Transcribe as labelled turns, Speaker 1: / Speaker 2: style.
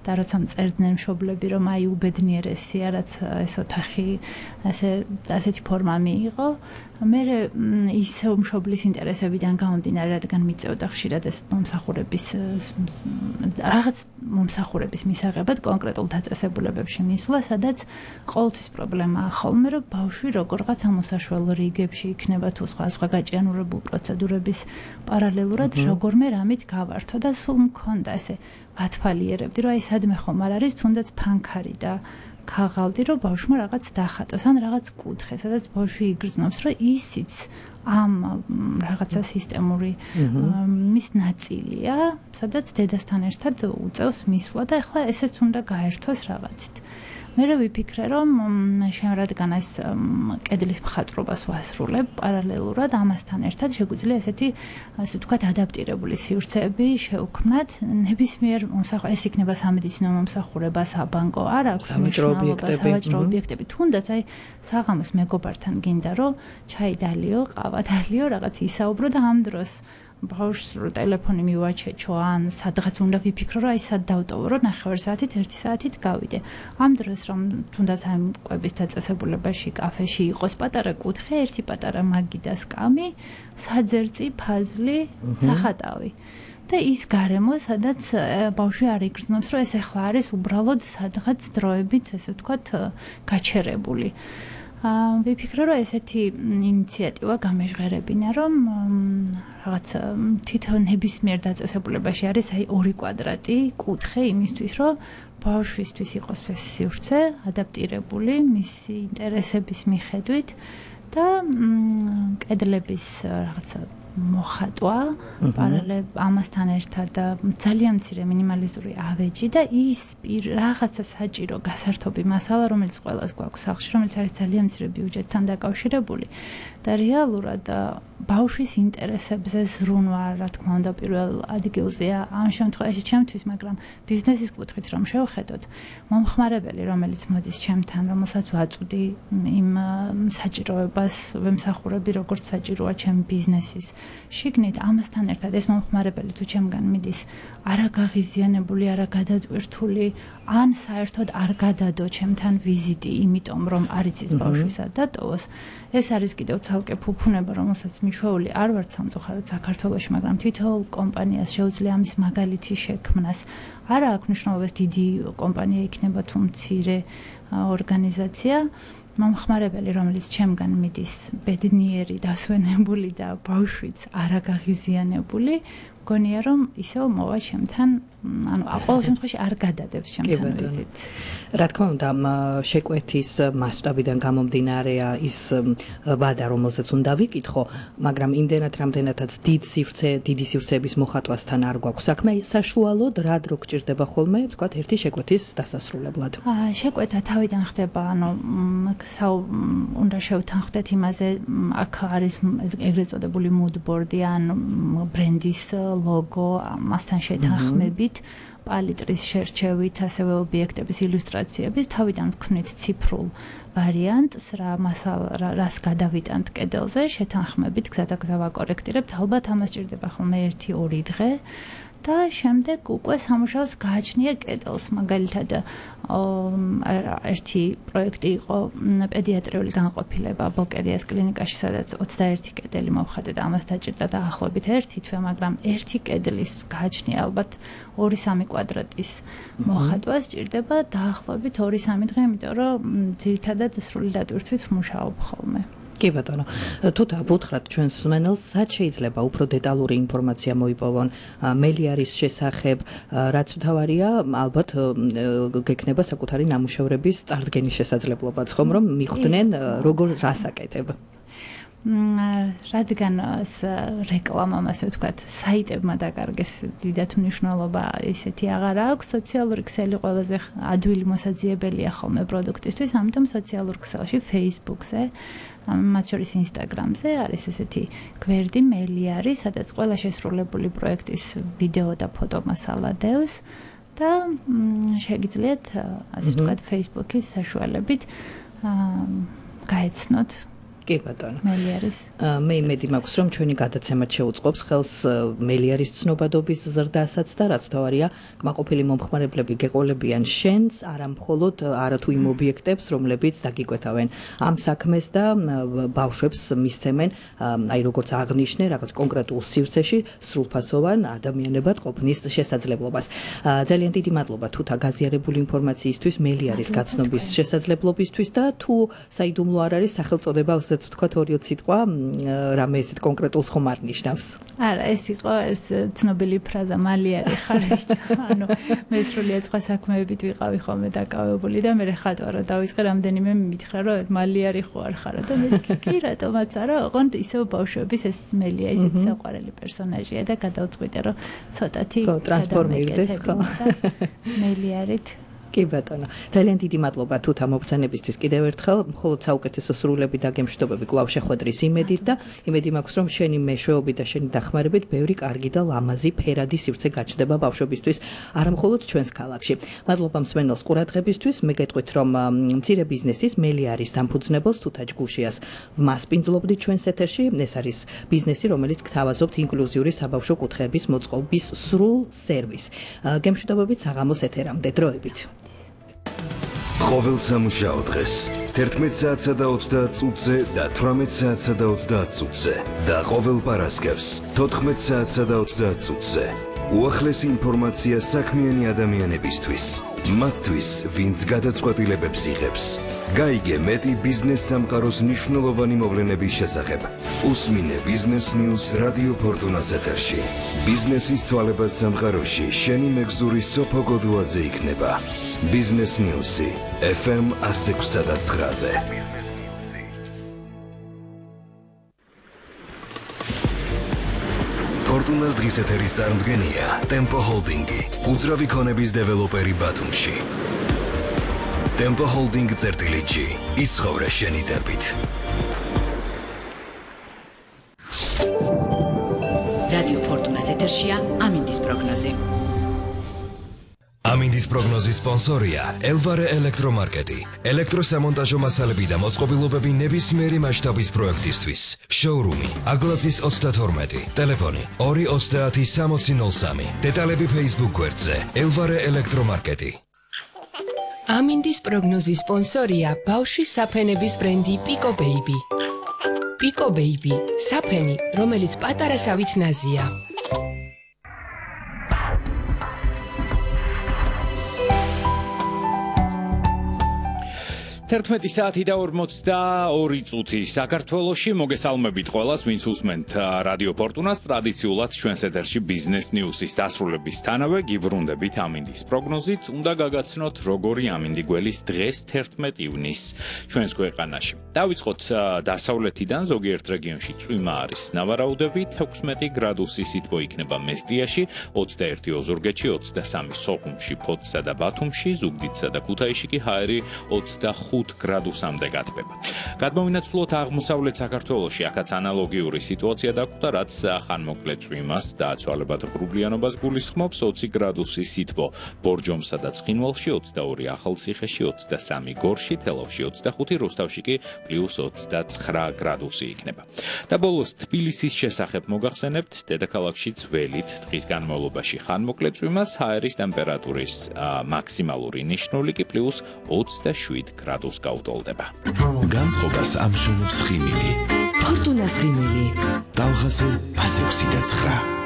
Speaker 1: და როცა მწერდნენ მშობლები, რომ აი უბედნიერესია, რაც ეს ოთახი ასეთი ფორმა მიიღო, მე ისევ მშობლის ინტერესებიდან გამომდინარე, რადგან მიწევდა ხშირად ეს რაღაც მომსახურების მისაღებად კონკრეტულ დაწესებულებებში მისვლა, სადაც ყოველთვის პრობლემაა ხოლმე, რომ ბავშვი როგორღაც ამ უსაშველო რიგებში იქნება თუ სხვა გაჭიანურებულ პროცედურების პარალელურად როგორმე რამით გავართო და სულ მქონდა ესე ვათვალიერებდი, რომ აი სადმე ხომ არ არის თუნდაც ფანქარი და ქაღალდი, რომ ბავშვმა რაღაც დახატოს, ან რაღაც კუთხე, სადაც ბავშვი იგრძნობს, რომ ისიც ამ რაღაცა სისტემური მის ნაწილია, სადაც დედასთან ერთად უწევს მისვლა და ახლა ესეც უნდა გაერთოს რაღაცით. მე ვიფიქრე, რომ რადგან ეს კედლის მხატვრობას ვასრულებ პარალელურად ამასთან ერთად შეგვიძლია ესეთი, ასე ვთქვათ, ადაპტირებული სივრცეები შევქმნათ ნებისმიერ ეს იქნება სამედიცინო მომსახურება, საბანკო, არ აქვს მნიშვნელობა, სავაჭრო ობიექტები, თუნდაც აი საღამოს მეგობართან გინდა რომ ჩაი დალიო, ყავა დალიო, რაღაც ისაუბრო და ამ დროს ბავშვს ტელეფონი მივაჩეჩო, ან სადღაც უნდა ვიფიქრო, რომ აი სად დავტოვო, რომ 9 საათით, 1 საათით გავიდე. ამ დროს რომ თუნდაც აი კვების დაწესებულებაში, კაფეში იყოს პატარა კუთხე, ერთი პატარა მაგი და სკამი, საძერწი, ფაზლი, სახატავი. და ის გარემო, სადაც ბავშვი არ იგრძნობს, რომ ეს ახლა არის უბრალოდ სადღაც დროებით, ესე ვთქვათ, გაჩერებული. ვიფიქრე, რომ ესეთი ინიციატივა გამეჟღერებინა, რომ რაღაც თვითონ ნებისმიერ დაწესებულებაში არის აი 2 კვადრატი კუთხე იმისთვის, რომ ბავშვისთვის იყოს ეს სივრცე ადაპტირებული მისი ინტერესების მიხედვით და კედლების რაღაცა მოხატვა პარალელურად ამასთან ერთად ძალიან მცირე მინიმალისტური ავეჯი და ის რაღაცა საჭირო გასართობი მასალა, რომელიც ყველას გვაქვს სახლში, რომელიც არის ძალიან მცირე ბიუჯეტთან დაკავშირებული და რეალურად ბავშვის ინტერესებზე ზრუნვა, რა თქმა უნდა, პირველ ადგილზეა ამ შემთხვევაში ჩემთვის, მაგრამ ბიზნესის კუთხით რომ შევხედოთ, მომხმარებელი, რომელიც მოდის ჩემთან, რომელსაც ვაწვდი იმ საჭიროებას, ვემსახურები, როგორც საჭიროა ჩემი ბიზნესის შიგნით, ამასთან ერთად ეს მომხმარებელი თუ ჩემგან მიდის არაგაღიზიანებული, არაგადატვირთული, ან საერთოდ არ გადადო ჩემთან ვიზიტი, იმიტომ რომ არ იცის ბავშვისა დატოვოს, ეს არის კიდევ ცალკე ფუფუნება, რომელსაც მიშვეული არ ვარ სამწუხაროდ საქართველოში, მაგრამ თითოეულ კომპანიას შეუძლია ამის მაგალითი შექმნას. არა აქვს მნიშვნელობას დიდი კომპანია იქნება თუ მცირე ორგანიზაცია. მომხმარებელი, რომელიც ჩემგან მიდის ბედნიერი, დასვენებული და ბავშვიც არაგაღიზიანებული, მგონია რომ ისევ მოვა ჩემთან, ანუ ყოველ შემთხვევაში არ გადადებს ჩემთან ვიზიტს.
Speaker 2: რა თქმა უნდა, შეკვეთის მასშტაბიდან გამომდინარეა ის ვადა, რომელზეც უნდა ვიკითხო, მაგრამ იმდენად რამდენადაც დიდი სივრცეების მოხატვასთან არ გვაქვს საქმე, საშუალოდ რა დრო გჭირდება ხოლმე, ვთქვათ, ერთი შეკვეთის დასასრულებლად.
Speaker 1: შეკვეთა თავიდან ხდება, ანუ უნდა შევთანხმდეთ იმაზე, აქ არის ეგრეთ წოდებული mood board-ი ან ბრენდის ლოგო, ამასთან შეთანხმებით, პალიტრის შერჩევით, ასევე ობიექტების ილუსტრაციების, თავიდან ვქნით ციფრულ ვარიანტს, რას გადავიტანთ კედელზე, შეთანხმებით, გზადაგზა ვაკორექტირებთ, ალბათ ამას ჭირდება ხოლმე 1-2 დღე. და შემდეგ უკვე სამუშაოს გააჩნია კედელს, მაგალითად ერთი პროექტი იყო პედიატრიული განყოფილება ბოკერიას კლინიკაში, სადაც 21 კედელი მოვხატე და ამას დაჭირდა დაახლოებით 1 თვე, მაგრამ ერთი კედლის გააჩნია ალბათ 2-3 კვადრატის მოხატვა სჭირდება დაახლოებით 2-3 დღე, იმიტომ რომ ძირითადად სრული დატვირთვით ვმუშაობ ხოლმე.
Speaker 2: კი ბატონო, თუ დავუთხრათ ჩვენს მსმენელს, სად შეიძლება უფრო დეტალური ინფორმაცია მოიპოვონ მელიარის შესახებ, რაც მთავარია, ალბათ გექნება საკუთარი ნამუშევრების წარდგენის შესაძლებლობაც, ხომ, რომ მიხვდნენ როგორ რას აკეთებ.
Speaker 1: რადგან რეკლამამ, ასე ვთქვათ, საიტებმა დაკარგეს დიდად მნიშვნელობა ისეთი აღარ აქვს, სოციალური ქსელი ყველაზე ადვილი მოსაძიებელია ხოლმე პროდუქტისთვის, ამიტომ სოციალურ ქსელში, Facebook-ზე, მათ შორის Instagram-ზე არის ესეთი გვერდი მელიარი, სადაც ყველა შესრულებული პროექტის ვიდეო და ფოტო მასალა დევს და შეგიძლიათ, ასე ვთქვათ, Facebook-ის საშუალებით გაეცნოთ
Speaker 2: კი ბატონო.
Speaker 1: მელიარის.
Speaker 2: მე იმედი მაქვს, რომ ჩვენი გადაცემაც შეუწყობს ხელს მელიარის ცნობადობის ზრდასაც და რაც თავარია, კმაყოფილი მომხმარებლები გეყოლებიან შენს, არა მხოლოდ არათუ იმ ობიექტებს, რომლებიც დაგიკვეთავენ ამ საქმეს და ბავშვებს მისცემენ, აი როგორც აღნიშნე, რაღაც კონკრეტულ სივრცეში სრულფასოვან ადამიანებად ყოფნის შესაძლებლობას. ძალიან დიდი მადლობა თუთა გაზიარებული ინფორმაციისთვის, მელიარის გაცნობის შესაძლებლობისთვის და თუ საიდუმლო არ არის სახელწოდება უსაც ვთქვათ ორი სიტყვა რამე ესეთ კონკრეტულს ხომ არ ნიშნავს.
Speaker 1: არა, ეს იყო ეს ცნობილი ფრაზა მალიარი ხარ. ანუ მე სრულიად სხვა საქმეებით ვიყავი ხოლმე დაკავებული და მე ხატვარო დავიწყე რამდენიმე მითხრა რომ მალიარი ხო არ ხარო და მე კი რატომაც არა, ოღონდ ისევ ბავშვების ეს მელია ისეთ საყვარელი პერსონაჟია და გადავწყვიტე რომ ცოტათი
Speaker 2: ტრანსფორმირდეს ხო
Speaker 1: მელიარით.
Speaker 2: კი ბატონო, ძალიან დიდი მადლობა თუთა მოგზანებისთვის კიდევ ერთხელ, მხოლოდ საუკეთესო სრულები და გემშვიდობები კვლავ შეხვედრის იმედით და იმედი მაქვს რომ შენი მეშვეობით და შენი დახმარებით ბევრი კარგი და ლამაზი ფერადი სივრცე გაჩნდება ბავშვებისთვის, არა მხოლოდ ჩვენს ქალაქში. მადლობა მსმენელს ყურადღებისთვის, მე გეტყვით რომ მცირე ბიზნესის მელიარის დამფუძნებელს თუთა ჯგუშიას ვმასპინძლობდით ჩვენს ეთერში, ეს არის ბიზნესი, რომელიც გთავაზობთ ინკლუზიური საბავშვო კუთხეების მოწყობის სრულ სერვისს. გემშვიდობებით საღამოს ეთერამდე დროებით.
Speaker 3: ყოველ სამუშაო დღეს 11 საათსა და 30 წუთზე და 18 საათსა და 30 წუთზე და ყოველ პარასკევს 14 საათსა და 30 წუთზე უახლესი ინფორმაცია საქმიანი ადამიანებისთვის, მათთვის, ვინც გადაწყვეტილებებს იღებს. გაიგე მეტი ბიზნეს სამყაროს მნიშვნელოვანი მოვლენების შესახებ. უსმინე ბიზნეს ნიუს რადიო ფორტუნას ეთერში. ბიზნესის ცვალებად სამყაროში შენი მეგზური სოფო გოდუაძე იქნება. ბიზნეს ნიუსი FM 106.9-ზე. ფორტუნას დღის ეთერის წარმდგენია ტემპო ჰოლდინგი, უძრავი ქონების დეველოპერი ბათუმში. ტემპო ჰოლდინგ წერტილიჩი, იცხოვრე შენი ტემპით.
Speaker 4: რადიო ფორტუნას ეთერშია ამინდის პროგნოზი.
Speaker 3: ამინდის პროგნოზის სპონსორია ელვარე ელექტრომარკეტი. ელექტროსამონტაჟო მასალები და მოწყობილობები ნებისმიერი მასშტაბის პროექტისთვის. შოურუმი აგლაძის 32, ტელეფონი 230-6003. დეტალები Facebook გვერდზე ელვარე ელექტრომარკეტი.
Speaker 5: ამინდის პროგნოზის სპონსორია ბავშვის საფენების ბრენდი Pico Baby. Pico Baby, საფენი, რომელიც პატარა სავით ნაზია.
Speaker 6: 11 საათი და 42 წუთი საქართველოში მოგესალმებით ყველას, ვინც უსმენთ რადიო ფორტუნას, ტრადიციულად ჩვენს ეთერში ბიზნეს ნიუსის დასრულებისთანავე გიბრუნდებით ამინდის პროგნოზით. უნდა გაგაცნოთ როგორი ამინდი გველის დღეს 11 ივნისს ჩვენს ქვეყანაში. დავიწყოთ დასავლეთიდან, ზოგიერთ რეგიონში წვიმა არის ნავარაუდებით, 16 გრადუსი სითბო იქნება მესტიაში, 21 ოზურგეთში, 23 სოხუმში, ფოთსა და ბათუმში, ზუგდიდსა და ქუთაისში კი ჰაერი 25 გრადუსამდე გათბება. გადმოვინაცვლოთ აღმოსავლეთ საქართველოში, აქაც ანალოგიური სიტუაცია დაგვხვდა, რაც ხანმოკლე წვიმას და ცვალებად ღრუბლიანობას გულისხმობს. 20 გრადუსი სითბო ბორჯომსა და ცხინვალში, 22 ახალციხეში, 23 გორში, თელავში 25, რუსთავში კი +29 გრადუსი იქნება. და ბოლოს თბილისის შესახებ მოგახსენებთ, დედაქალაქში ძველით დღის განმავლობაში ხანმოკლე წვიმას, ჰაერის ტემპერატურის მაქსიმალური ნიშნული კი +27 გრადუსი გაუტოლდება.
Speaker 3: განწყობას ამშვენებს ხიმილი.
Speaker 4: ფორტუნას ხიმილი.
Speaker 3: ტალღაზე 106.9.